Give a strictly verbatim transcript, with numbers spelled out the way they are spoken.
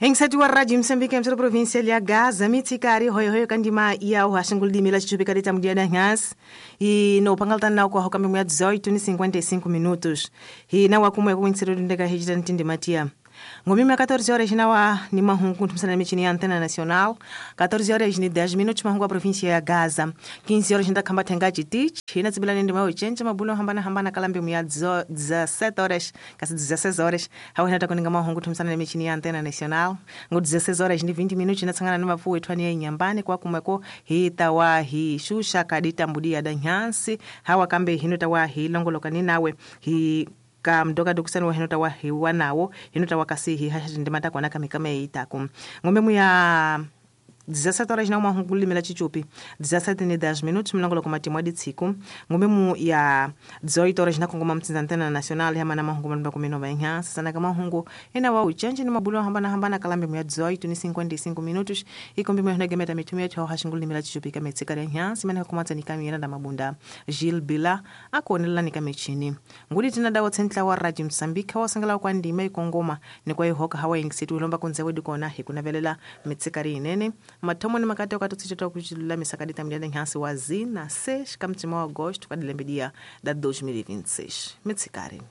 Engsati wa Radio Moçambique emsero província ya Gaza mitsikari hoyo hoyo kandima ya o hashingulidimila chichupika lita mudiada nhas e no pangaltan na kwa hokambe mwa dezoito e cinquenta e cinco minutos e na wakumwe kuinsero ndeka hijira ntinde matia ngomima catorze horas na wa ni mahungu ntumsana michini ya Antena Nacional catorze horas ni dez minutos mahungu a província ya Gaza quinze horas nda kamba tenga chitich ina tsibila ndi mawo chenje mabulo hambana hambana kalambe mwa dezessete horas kasi dezesseis horas hawa nata kuninga mahungu ntumsana michini ya Antena Nacional ngo dezesseis horas ni vinte minutos na tsangana mafu wethu ya nyambani kwa kumweko hita wa hi shusha kadita mbudia da nyansi hawa kambe hinota wa hi longoloka ni nawe hi ka mdoka dokusani wa hinota wa hiwa nawo hinota wa kasihi hasha ndimata kwana kamikame itaku ngombe muya dezessete horas na uma hungulimela chichupi dezessete e dez minutos mlangolo kuma timu adi tsiku ngombe mu ya dezoito horas na kongoma mtsinza Antena Nacional ya mana mahungu malumba kumi nova inha sasana kama hungu ina wa uchenje ni mabulo hambana hambana kalambe mu ya dezoito e cinquenta e cinco minutos ikombe mu gemeta mitumia cha hashingulimela chichupi kama tsikari inha simana kumatsa ni kamera da mabunda Gilles Bila akonela ni kamechini nguli tina dawo tsentla wa Radio Moçambique wa sangala kwa ndima ikongoma ni kwa ihoka hawa ingsitu lomba kunze wedi kona hikunavelela mitsikari inene mathomo ni makati okatotsitsheta kuchilula misakadita mdiada nhansi wa zina seis kamtsima wa agosto kadilembedia da dois mil e vinte e seis mitsikari.